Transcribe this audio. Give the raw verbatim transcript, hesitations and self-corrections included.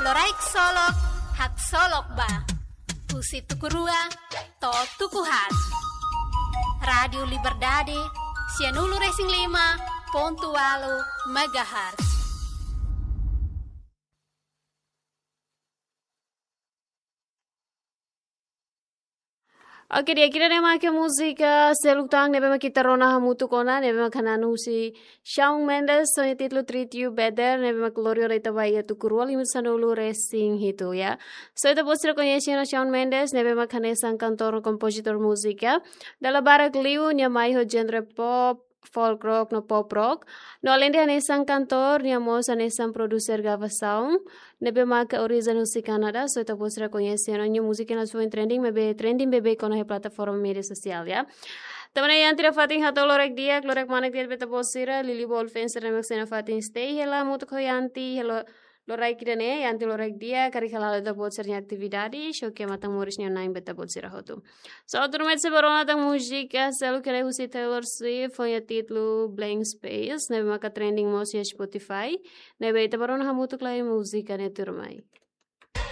Loraik solok, haksolok ba. Husi tuku rua to'o tuku haat. Rádiu Liberdade, sianulu-resin-lima pontu ualu megahertz. Oke, di'ak, ida-ne'e mak múzika seluk tan ne'ebé mak ita rona hamutuk ona, ne'ebé mak hanesan husi Shawn Mendes, ho nia títulu Treat You Better, ne'ebé mak lori ona ita ba iha tuku rua liu sanulu-resin-hitu, ya. So, ita-boot sira koñese ona Shawn Mendes, ne'ebé mak hanesan kantór no kompozitór múzika. Dala barak liu nia mai ho genre pop, folk rock no pop rock. No aleinde hanesan kantór, nia mós hanesan produser gravasaun, ne'ebé maka orijen husi Kanadá, so ita-boot sira koñese ona. Nia múzika ne'e la foin trending, maibé trending beibeik ona iha plataforma média sosiál, ya. Tanba ne'e Yanti nafatin hato'o loraik di'ak, loraik manek di'ak ba ita-boot sira, Lili Bol fans sira ne'ebé mak sei nafatin stay hela hamutuk ho Yanti, hela loraik ida-ne'e, Yanti loraik di'ak, karik hala'o ita-boot sira-nia atividade, xoke matan moris nia na'in ba ita-boot sira hotu. So, tuirmai ita sei bá rona tan múzika seluk ida husi Taylor Swift, ho nia títulu Blank Space, ne'ebé maka trending mós iha Spotify, ne'ebé ita bá rona hamutuk lai múzika ne'e tuirmai.